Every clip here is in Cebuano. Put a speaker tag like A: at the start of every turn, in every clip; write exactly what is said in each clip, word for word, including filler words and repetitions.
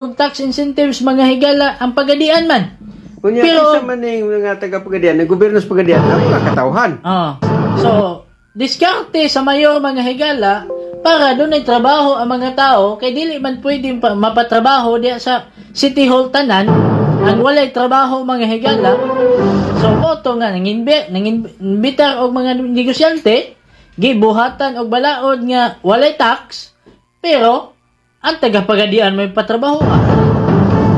A: Tax incentives, mga higala, ang Pagadian man.
B: Unya,
A: Pero-
B: kinsa man ning mga taga Pagadian, ang gobyerno sa Pagadian, ang mga katawhan.
A: Ah. So, diskarte sa mayor, mga higala, para dunay trabaho ang mga tao kay dili man pwedeng pa, mapatrabaho diya sa City Hall tanan ang walay trabaho, mga higala. So mao to nga nanginbi nangimbitar og mga negosyante, gibuhatan og balaod nga walay tax, pero ang taga Pagadian may patrabaho ah.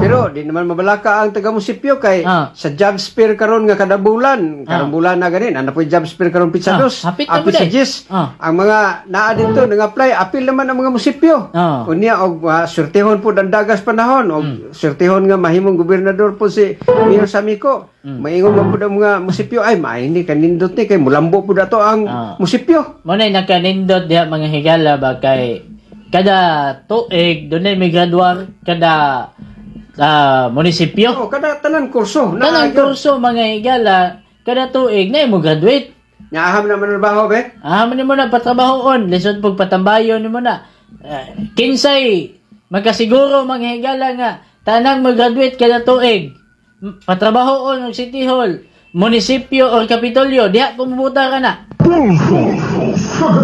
B: Pero di naman mabalaka ang taga munisipyo kay
A: Ah.
B: sa job fair karon nga kada bulan, karong
A: Ah.
B: bulan na ganin, ana po'y job fair karon pitsa
A: Ah,
B: dos.
A: hapit na
B: Apil
A: po
B: sa
A: day.
B: Diyes.
A: Ah.
B: Ang mga naa didto nang-apply, apil naman ang mga munisipyo.
A: Ah.
B: Unya og uh, surtihon pud ang dagas panahon og
A: Hmm.
B: surtihon nga mahimong gobernador po si Mayor Samico.
A: Hmm.
B: Maingon man pud ang mga munisipyo, "Ay, maay ni kanindot ni kay mulambo pud ato ang
A: Ah.
B: munisipyo."
A: Mao na nakanindot diha, mga higala ba, kay kada tuig dunay may graduar kada ah, munisipyo.
B: Oh, kada tanan kurso.
A: Tanang
B: Naa gyud.
A: kurso, mga higala, kada tuig na mo graduate.
B: Nya aham na manrabaho be.
A: Ah, man mo na patrabahoon, lisod pug patambayon nimo na. Ah, kinsay magkasiguro, mga higala, nga tanang mag-graduate kada tuig m- patrabahoon og City Hall, munisipyo or Kapitolyo, diha kumubuta ka na.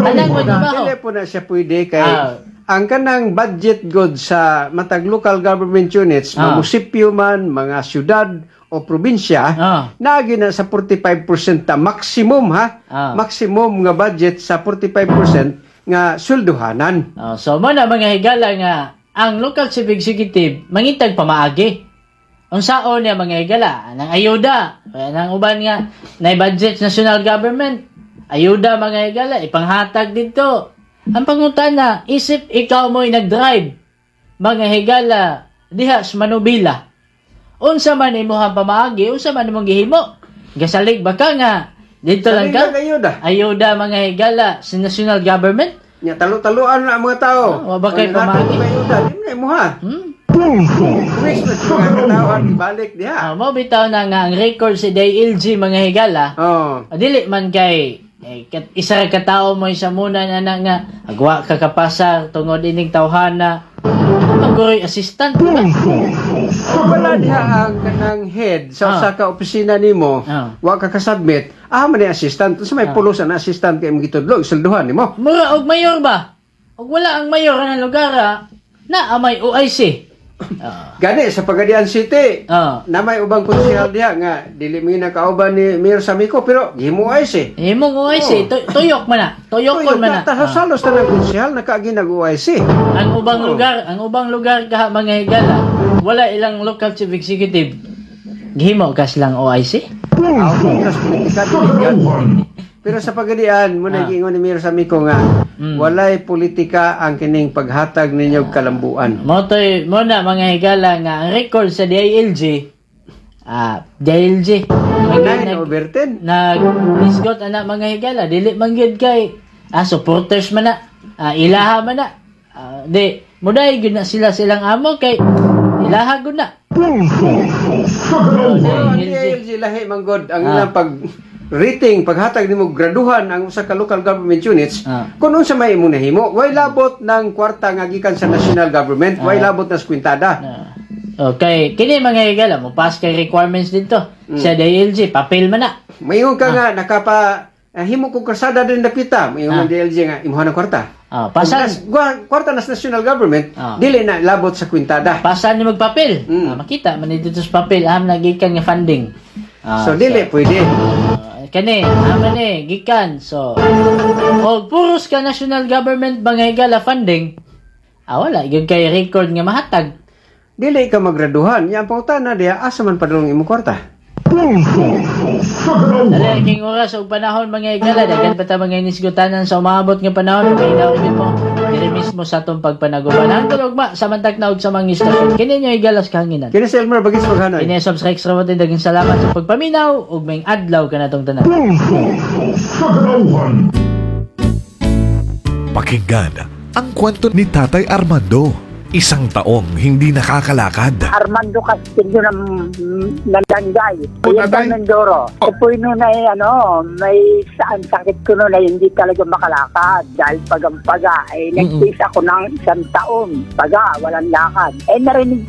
A: Tanang magtrabaho.
B: Dili po na siya pwede kay
A: Ah.
B: ang kanang budget god sa matag local government units,
A: Ah.
B: mga munisipyo man, mga syudad o probinsya,
A: Ah.
B: naagi na sa forty-five percent ta maximum ha.
A: Ah.
B: Maximum nga budget sa forty-five percent nga swelduhanan.
A: Oh, so mo na, mga higala, nga ang local chief executive mangitag pamaagi. Unsaon niya, mga higala, nang ayuda, kaya nang uban nga na budget national government, ayuda, mga higala, ipanghatag didto. Ang pangutana, isip ikaw mo'y nag-drive, mga higala, diha sa Manubila. Unsa man imuhang pamaagi, unsa man imong gihimo? Gasalig ba ka nga didto lang ka?
B: Salig lang ayuda.
A: Ayuda, mga higala, sa national government?
B: Nya talo-taluan na ang mga tao.
A: Ah, wa ba kay
B: Kung nanghatag
A: pamaagi?
B: og ayuda, di mo na imuha.
A: Hmm?
B: Weeks na siya nga katawhan balik diha.
A: Ah, mo bitaw na nga ang record si D I L G, mga higala.
B: Oh.
A: Ah, dili man kay eh, kat, isa ra ka tawo mo sa muna na na nga agwa ka kapasar tungod ining tawhana. Ang assistant, di ba?
B: Kung wala diha ang kanang head sa
A: Ah.
B: usa ka opisina nimo,
A: Ah.
B: wa ka kasubmit, ah man ni assistant. Sa may
A: Ah.
B: pulos ang assistant kay imong gitudlo, isweldohan nimo.
A: Mura og mayor ba? Og wala ang mayor ng lugar ah, na amay O I C. Ah.
B: Gani sa Pagadian City,
A: Ah.
B: na may ubang konsehal diha nga dili mi nakauban ni Mayor Samico pero gihimo O I C.
A: Imong O I C,
B: Oh.
A: tu- tuyok man na. Tuyokon man na.
B: Ta
A: Ah.
B: salos na ng konsehal nakaagi nag O I C.
A: Ang ubang
B: Oh.
A: lugar, ang ubang lugar kaha, mga higala, wala ilang local chief executive. Gihimo kas lang O I C?
B: Aw, sa politika dili yun. Pero sa Pagadian, mo
A: Ah.
B: na giingon ni Mayor Samico nga
A: Mm.
B: walay politika ang kining paghatag ninyo og kalambuan.
A: Mo to'y mo na, mga higala, nga ang record sa D I L G, ah D I L G
B: nine
A: nag,
B: over ten.
A: nag nisgot ana, mga higala, dili man gyud kay ah supporters man na, ah, ilaha man na, ah, di muday gyud na sila silang amo kay ilaha gud na.
B: Pero ang D I L G lahi man god ang
A: Ah.
B: ilang pag rating, paghatag nimo graduhan ang usa ka local government units
A: Ah.
B: kung unsa may imong nahimo, way labot ng kwarta nga gikan sa national government, way
A: Ah.
B: labot na sa kwintada.
A: Ah. Okay, kini, mga higala, mo pass kay requirements dito sa D I L G, papel man na.
B: Maingon ka nga nakapa ah, himo kog karsada din dapita, maingon
A: Ah.
B: ang D I L G nga imuha ng kwarta.
A: Ah, pasan
B: Kung nas- gwa- kwarta nas national government,
A: Ah.
B: dili na labot sa kwintada.
A: Pasan ni magpapel.
B: Mm.
A: Ah, makita man dito sa papel aham nagikan nga funding. Ah,
B: So dili pwede.
A: Ah, kani, ama ni gikan. So, og puros ka national government, mga higala, funding. Ah, wala gyud kay record nga mahatag.
B: Dili ka magraduhan. Nya ang pangutana diha, asa man padulong imong kwarta?
A: Dali king oras ug panahon, mga higala, daghan pa ta mga inisgutanan sa umaabot nga panahon, kay gyud mo diri mismo sa atong pagpanaguban. Hangtod ugma sa mantag na og sa mga istasyon. Kini nyo higalas kahanginan.
B: Kini si Elmer Bagis Maghanoy.
A: Kini Subs Rex Rabotin, daghang salamat sa pagpaminaw ug may adlaw kanatong tanan.
C: Pakinggan ang kwento ni Tatay Armando. Isang taong hindi nakakalakad.
D: Armando Castillo ng Nandangay.
E: Oh,
D: Oriental
E: tatay.
D: Mindoro.
E: Oh.
D: Oh. Po noon ay ano, may saan sakit ko noon ay hindi talaga makalakad dahil pagampaga. Ay nagtiis ako ng isang taon. Paga, walang lakad. Eh narinig ko